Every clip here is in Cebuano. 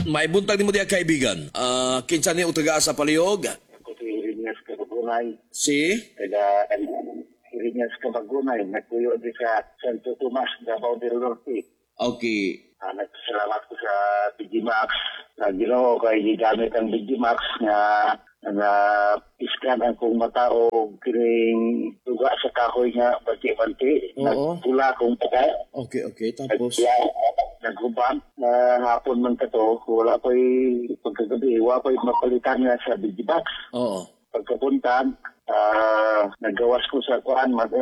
Maibuntag nimo diha, kaibigan. Ah, kinsa ni ug taga sa palihog? Ako si Irinas Kabagunay, Si taga Irinas Kabagunay, nagpuyo di sa Santo Tomas, Davao del Norte. Nagpasalamat ko sa BG Max. Sa Ginoo kay gigamit ang BG Max nga nga iskan ang kong mata o kining duga sa kahoy nga banti-banti. Nagpula akong mata. Okay. Tapos Nagpula, naghubag na hapon man kato, wala ko'y pagkagabi, wala ko'y mapalitan nga sa BG Max. Pagkapuntan, nagawas ko sa kuan mag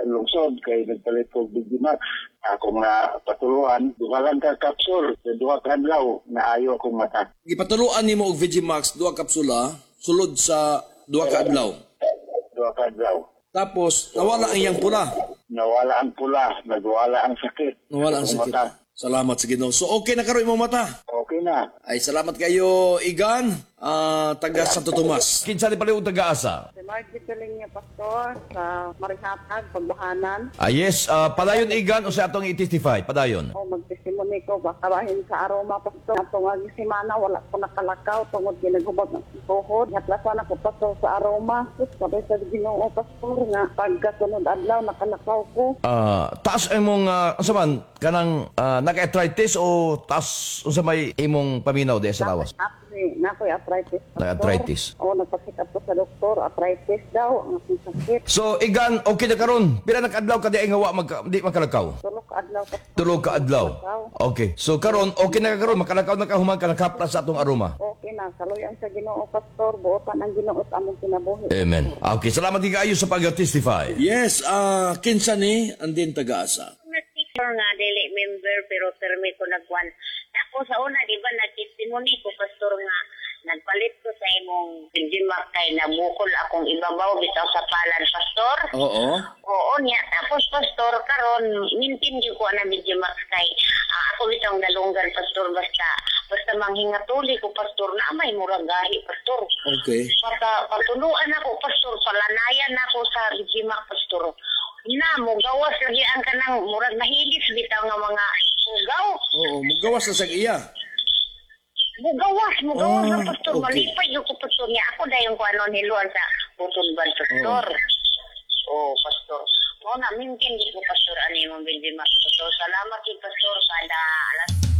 lungsod kay nagpalit ko BG Max. Ako nga patuluan, duha lang ka kapsul, sa 2 ka adlaw na ayo akong mata. Gipatuluan nimo og VG Max duha kapsula sulod sa 2 ka adlaw. 2 ka adlaw. Tapos nawala ang iyang pula. Nawala ang pula, nagwala ang sakit. Nawala ang Akong sakit. mata. Salamat sa Ginoo. So okay na karon imong mata. Okay na. Ay, salamat kayo, Igan, taga Santo Tomas. Kinsa ni palihog, taga-asa? Si Margie Tuling, Pastor, sa Marihatag, Pagbuhanan. Ah, yes, padayon, Igan, o sa atong i-testify, padayon. O magtestimony ko, baka bahin sa aroma, Pastor. Atong agi semana, wala ko nakalakaw, tungod ginaghubag ng tuhod. Haplasan ako, Pastor, sa aroma. Sus, sabay sa Ginoo, Pastor, nga pagkasunod adlaw, nakalakaw ko. Taas imong unsa man kanang naka-arthritis o taas unsa may imong paminaw di sa lawas? Actually, nakoy arthritis, Pastor. Naka-arthritis. O, nagpa-check up ko sa doktor, arthritis daw, ang akong sakit. So Igan, okay na karon. Pila na kaadlaw ka di ay nga wa di makalakaw? 3 ka adlaw, Pastor. 3 ka adlaw. Okay. So karon okay na ka karon, makalakaw na ka human ka nakaplas sa atong aroma. Okay na, saluyan sa Ginoo, Pastor, buotan ang Ginoo sa among kinabuhi. Amen. Okay, salamat din kaayo sa pag-testify. Yes, kinsa ni andin taga-asa? Nagtikor nga dili member pero permi ko nagwan. Ako sa una, di ba, nagtestimony ko, Pastor, nga nagpalit ko sa imong Gimak kay nabukol akong ibabaw bitaw sa palad, Pastor. Oo niya. Tapos, Pastor, karon mintin gyud ko ana Gimak kay ako bitaw ang dalunggan, Pastor, basta basta manghingatuli ko, Pastor, na may murag gahi, Pastor. Pata, patuluan ako, Pastor, palanayan ako sa Gimak, Pastor. Na, mugawas lagi ang kanang murag nahilis bitaw nga mga hugaw. Oo, mugawas na sa iya. Mugawas, mugawas na, Pastor. Ah, okay. Malipay yung ko, Pastor, niya. Ako dayon ko ano niluan sa butulban, Pastor. Oh, Pastor. Mo na, mintin di ko, Pastor, ano yung Gimak, Pastor. Salamat kay Pastor kada alas